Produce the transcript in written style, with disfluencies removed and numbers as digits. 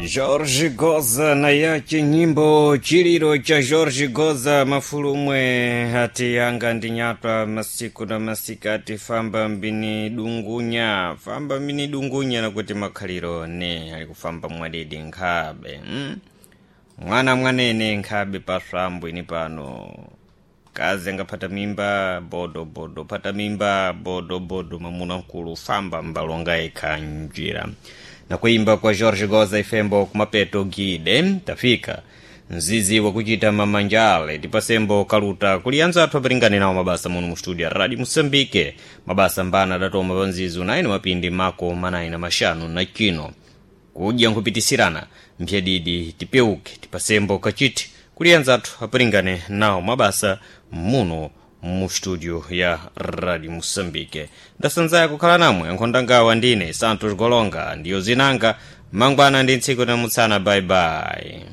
George Goza na yache nyimbo chililo cha George Goza mafulumwe hati yanga ndinyatwa masiku na masikati famba mbini dungunya famba mbini dungunya nakuti makhaliro ne alikufamba mwadidi nkhabe Mwana mwanene nkhabe paswambo ini pano kazi angaphata mimba bodo bodo phata mimba bodo bodo mamuna mkulu famba mbalonga yekha njira na kuimba kwa George Goza ifembo kumapeto gide tafika mzizi wakuchita mamanjale tipasembo kaluta kuli anzathu apilingane nawo mabasa muno mu studio radio Moçambique mabasa mbana adatoma pa mzizi unayi mapindi mako manayi na maxanu na chino kudya nkhupitisirana mphyadidi tipeuke tipasembo kachiti kuli anzathu apilingane nawo mabasa muno mu studio ya radio Moçambique ndasanzaya kukhala namwe ankhondangawa ndine Santos Golonga ndiyo zinanga mangwana ndi ntsiku namutsana bye bye.